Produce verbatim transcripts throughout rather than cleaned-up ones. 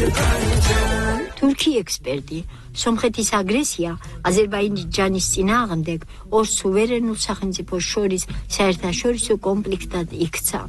თურქი ექსპერტი სომხეთის აგრესია აზერბაიჯანის წინააღმდეგ ორ სუვერენულ სახელმწიფოს შორის საერთაშორისო კონფლიქტად იქცა.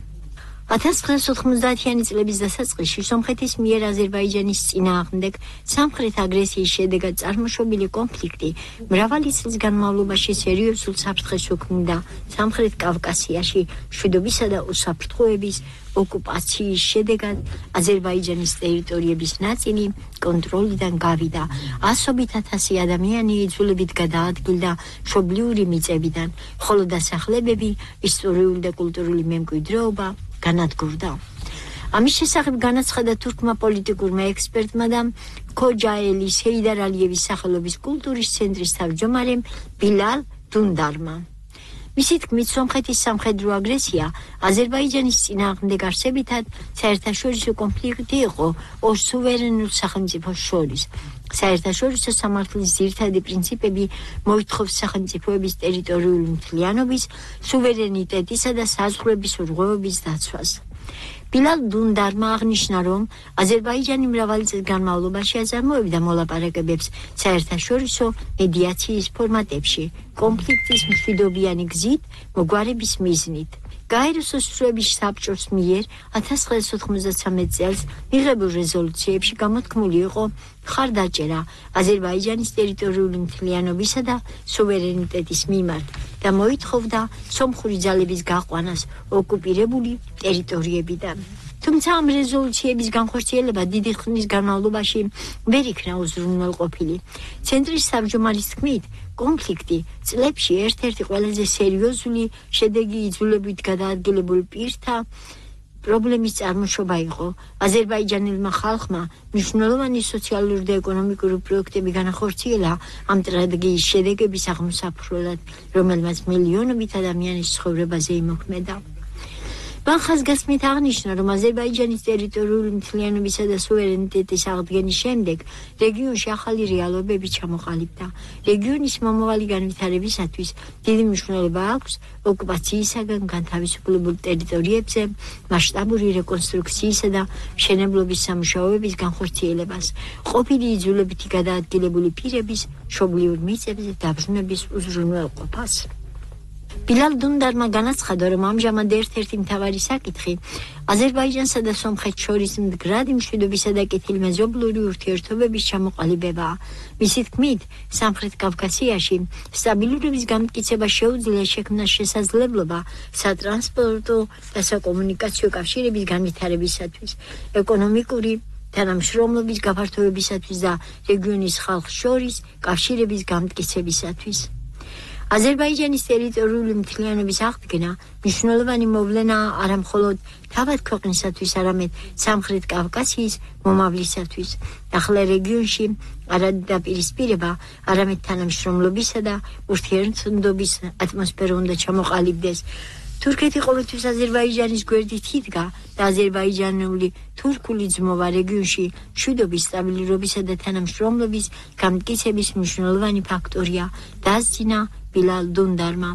ათას ცხრაასი ოთხმოცდაათიანი წლების დასაწყისში სომხეთის მიერ აზერბაიჯანის წინააღმდეგ სამხრეთ აგრესიის შედეგად წარმოშობილი კონფლიქტი მრავალი წლის განმავლობაში სერიოზულ საფრთხეს უქმნიდა სამხრეთ კავკასიაში მშვიდობისა და უსაფრთხოების ოკუპაციის შედეგად აზერბაიჯანის ტერიტორიების ნაწილი კონტროლიდან გავიდა. ასობით ათასი ადამიანი იძულებით გადაადგილდა მშობლიური მიწებიდან, ხოლო დასახლებები, ისტორიული და კულტურული მემკვიდრეობა განადგურდა. ამის შესახებ განაცხადა თურქმა პოლიტიკურმა ექსპერტმა და ქოჯაელის ჰეიდარ ალიევის სახელობის კულტურის ცენტრის თავმჯდომარემ ბილალ დუნდარმა. მისი თქმით, სომხეთის სამხედრო აგრესია აზერბაიჯანის წინააღმდეგ არსებითად საერთაშორისო კონფლიქტი იყო ორ სუვერენულ სახელმწიფოს შორის. საერთაშორისო სამართლის ძირითადი პრინციპები მოითხოვს სახელმწიფოების ტერიტორიული მთლიანობის, სუვერენიტეტისა და საზღვრების რღვევების დაცვას. ბილალ დუნდარმა აღნიშნა, რომ აზერბაიჯანი მრავალი წლის განმავლობაში აწარმოებდა მოლაპარაკებებს საერთაშორისო მედიაციის ფორმატებში, კონფლიქტის მშვიდობიანი გზით მოგვარების მიზნით. გაეროს ოსვრების საბჭოს მიერ ათას ცხრაასი ოთხმოცდათვრამეტ წელს მიღებულ რეზოლუციებში გამოთქმული იყო მხარდაჭერა აზერბაიჯანის ტერიტორიული მთლიანობისა და სუვერენიტეტის მიმართ და მოითხოვდა სომხური ძალების გაყვანას ოკუპირებული ტერიტორიებიდან. თუმცა ამ რეზოლუციების განხორციელება დიდი ხნის განმავლობაში ვერ იქნა უზრუნველყოფილი. ცენტრის თავმჯდომარის თქმით, კონფლიქტი წლებში ერთ-ერთი ყველაზე სერიოზული შედეგი იძულებით გადაადგილებულ პირთა პრობლემის წარმოშობა იყო. აზერბაიჯანელმა ხალხმა მნიშვნელოვანი სოციალური და ეკონომიკური პროექტები განახორციელა ამ ტრაგედიის შედეგების აღმოსაფხვრელად, რომელმაც მილიონობით ადამიანის ცხოვრებაზე იმოქმედა. მან ხაზგასმით აღნიშნა, რომ აზერბაიჯანის ტერიტორიული მთლიანობისა და სუვერენიტეტის აღდგენის შემდეგ რეგიონში ახალი რეალობები ჩამოყალიბდა. რეგიონის მომავალი განვითარებისათვის დიდი მნიშვნელობა აქვს ოკუპაციისაგან განთავისუფლებულ ტერიტორიებზე მასშტაბური რეკონსტრუქციისა და მშენებლობის სამუშაოების განხორციელებას, ყოფილი იძულებითი გადაადგილებული პირების მშობლიურ მიწებზე დაბრუნების უზრუნველყოფას. ბილალ დუნდარმა განაცხადა, რომ ამჟამად ერთ-ერთი მთავარი საკითხი აზერბაიჯანსა და სომხეთს შორის მდგრადი მშვიდობისა და კეთილმეზობლური ურთიერთობების ჩამოყალიბებაა. მისი თქმით, სამხრეთ კავკასიაში სტაბილურობის განმტკიცება შეუძლია შექმნას შესაძლებლობა სატრანსპორტო და საკომუნიკაციო კავშირების განვითარებისათვის, ეკონომიკური თანამშრომლობის გაფართოებისათვის და რეგიონის ხალხს შორის კავშირების განმტკიცებისათვის. აზერბაიჯანის ტერიტორიული მთლიანობის აღდგენა მნიშვნელოვანი მოვლენაა არა მხოლოდ თავად ქვეყნისათვის, არამედ სამხრეთ კავკასიის მომავლისათვის. ახლა რეგიონში არადაპირისპირება, არამედ თანამშრომლობისა და ურთიერთობის ატმოსფერო უნდა ჩამოყალიბდეს. თურქეთი ყოველთვის აზერბაიჯანის გვერდით იდგა და აზერბაიჯანული თურქული ძმობა რეგიონში მშვიდობის, სტაბილურობისა და თანამშრომლობის განმტკიცების მნიშვნელოვანი ფაქტორია, დასძინა ბილალ დუნდარმა.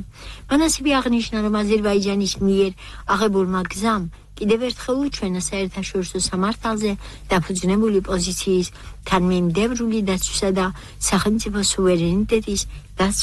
მან ასევე აღნიშნა, რომ აზერბაიჯანის მიერ აღებულმა გზამ კიდევ ერთხელ უჩვენა საერთაშორისო სამართალზე დაფუძნებული პოზიციის თანმიმდევრული დაცვისა და სახელმწიფო სუვერენიტეტის დაცვის